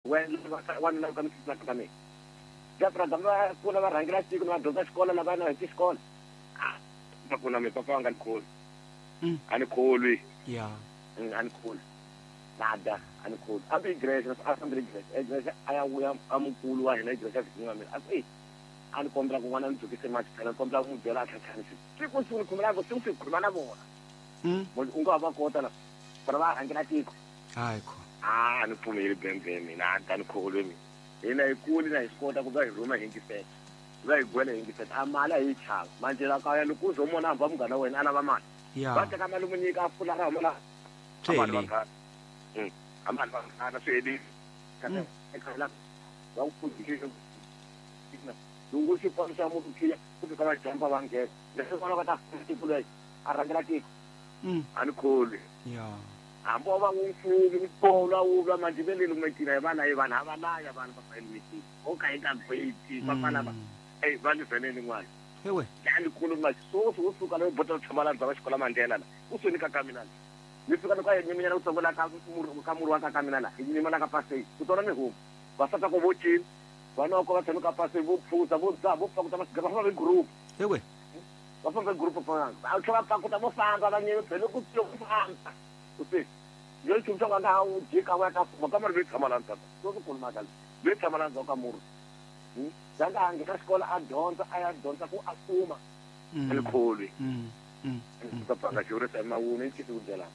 Wena wanuna ka misisi ka mina. Jafra va kula va rhangela tiko va dyondza xikolo lava na heti xikolo. Va kuna mi papa nga ni kholwi. A ni kholwi. Ya. A ni kholwi. Nada, a ni kholwi. Hambi igrexe, a fambile igrexe. Igrexe a ya vuya a mukulu wa hina igrexe a vizinyiwa mina. A ku e a ni kombela ku n'wana ni dzukise mati phela ni kombela ku n'wi byela a tlhatlhanisi. Siku siku ni khomela vo siku siku khuluma na vona. U nga va kota la. Fana va rhangela tiko. Hayi kho. A ni pfumeli bembe mina, a ni kholwi mina. Hina hi kuli na hi swi kota ku va hi rhuma hi yingisela. Va hi gwela hi yingisela. A mali a yi chava. Manje la kaya loko u zo mona hamba munghana wa wena a lava mali. Ya. Va teka mali mu nyika a pfula ra huma la. Swi helile. A mali vanghana swi helile. Eka la va ku pfundhile. Loko xi pfala xa munhu khiya ku fika va jumpa va nghena. Leswi vona va ta tiko leyi a rhangela tiko. A ni kholwi. Ya. Hambi wa va wu mfumi wu tolwa wu vula manje ve le lumetini a hi va layi vanhu a va laya vanhu va fa elumetini o ka hi nga gweti va fana va ey va ni vheneni n'wana Ewe. ya ni kulu manje swoswi wo suka loyi bota tshama la ndzhaku xikola Mandela la u sweni ka ka mina la ni fika ni ka nyiminyana ku tsongo la ka murhi ka murhi wa ka ka mina la hi nyima la ka pasei ku tona ni huma vasati ko vo cina vana ko va tshame ka pasei vo phuza vo dzaha vo pakuta masigara va famba hi group. Ewe. Va famba hi group va tlhela va pakuta vo famba va nyime phela ku ku famba u se yo nchumu xa ku a nga ha wu jika wu ya ka fuma kamara loyi tshama la ndzhaku so swi kulu mhaka leyi loyi tshama la ndzhaku ka murhi ya nga ha nghena xikolo a dyondza a ya dyondza ku a fuma a ni kholwi papa xivuriso emawuni i ncisi ku byelana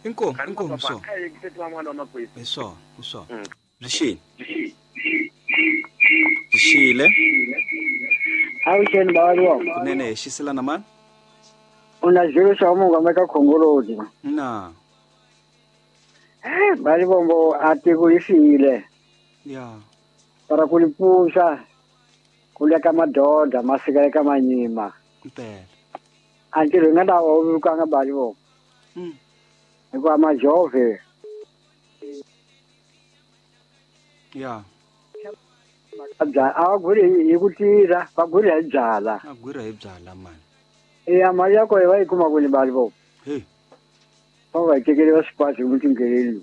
Inkomu, inkomu so. a yingiseti van'wana va makwenu Hi swona, hi swona. Byi xile. Byi xile. Avuxeni bava Kunene hi xiselana mani? U na xilo xa munga ka khongoloti. Na. Balivombo a tiko yi file. Ya. Para ku li pfuxa ku le ka madoda masika eka manyima. Mpela. A ntirho hi nga ta wu vukanga Balivombo. Hikuva majove. Ya. A va gwiri hi ku tirha, va gwiri hi byala. A gwira hi byala mani. Eya mali ya kona va yi kuma kwini Balivombo? Hey. Va va yi tekeli va swipazi hi mutingheleli.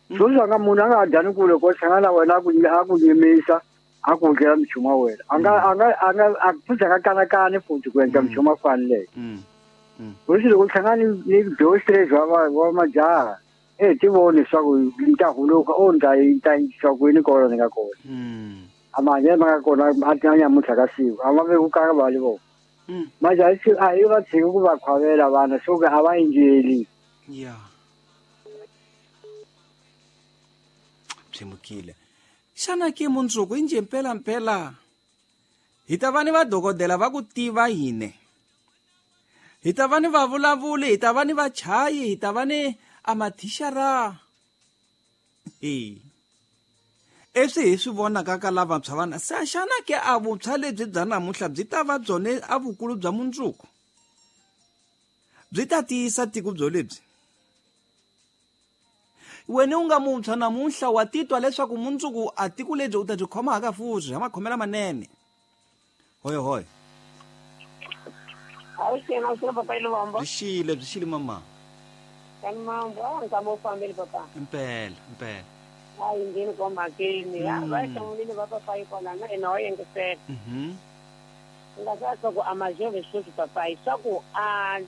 Sweswi nga munhu a nga ha dyani kule ko hlangana na wena a ku yimisa a ku endlela minchumu wa wena. A nga a nga a nga a futhi a nga kanakani futhi ku endla minchumu a faneleke. Hosi loko u hlangana ni dostress wa majaha e ti voni leswaku ni ta huluka o ni ta ni ta yisa kwini kona ni nga kona. A mahanyelo ma nga kona a ti nyamuntlha ka siku a ma vekukanga Balivombo. Manje a hi va tshiki ku va khwavela vana swo ka a va endleli. Ya. Byi Xana ke mundzuku i njhe mpela mpela? Hi ta va ni vadokodela va ku tiva hine. Hi ta va ni vavulavuli, hi ta va ni vachayi, hi ta va ni amathixara. Eswi hi swi vonaka ka lavantshwa vana se xana ke a vuntshwa lebyi bya namuntlha byi ta va byone a vukulu bya mundzuku? Byi ta tiyisa tiko byo lebyi? Wena u nga muntshwa namuntlha wa titwa leswaku mundzuku a tiko lebyi u ta byi khoma haka futhi ha makhomela manene. Hoyo hoyo. Avuxeni, avuxeni papa Iluvombo. Byi xile, byi xile mama. Kani mambo, a nkama u fambile papa. Mpela, mpela. A yi ngheni kwa mhakeni. Va hlamulile va papa yi kona na hina wa yengisela. Nga sa swa ku a majove sweswi papa hi swa ku a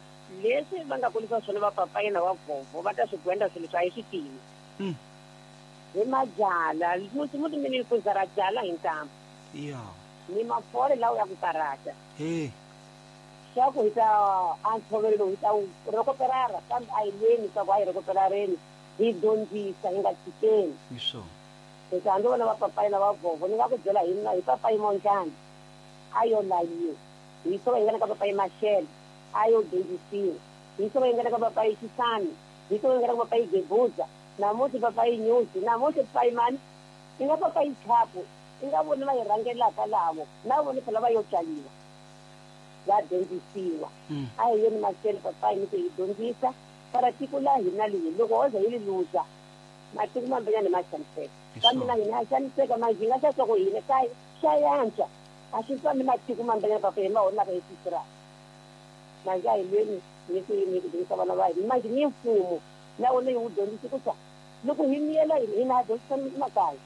leswi va nga kulisa swona va papa yena wa vovo va ta swi gwenda swilo leswi a yi swi tivi. Hi mabyala, muti muti mini ku zara byala hi ntambu. Ya. Ni mafole lawa ya ku karata. He. Swa ku hi ta a ntshovelo lowu hi ta wu rokoperara kambe a hi lweni swa ku a hi rokoperareni hi dyondzisa hi nga tshikeni. Hi swona. Hi ta hambi vona va papayi na va vovo ni nga ku byela hi hi papayi Mondlani a yo layiwa. Hi swo va hi nga ka papayi Mashele a yo dyondzisiwa. Hi swo va hi nga ka papayi Xisani, hi swo va hi nga ka papayi Gebuza, namuntlha papayi Nyusi, namuntlha papayi mani, i nga papayi Chapu, i nga voni va hi rhangelaka lavo, na vona phela va yo tswaliwa. Va dyondzisiwa. A hi yeni mahlweni papayi ni ku hi dyondzisa para tiko la hina leyi loko ho za hi li luza matiko mambanyana ma xaniseka. Kambe na hina ha xaniseka manje hi nga xa swa ku hina ka swa yantswa a swi fani matiko mambanyana papayi ma honaka hi sisira. Manje a hi lweni ni ku ni ku dyondzisa vana va hina manje ni mfumo na wona hi wu dyondzisi ku swa loko hi miyela hina ha dyondzisa makaya.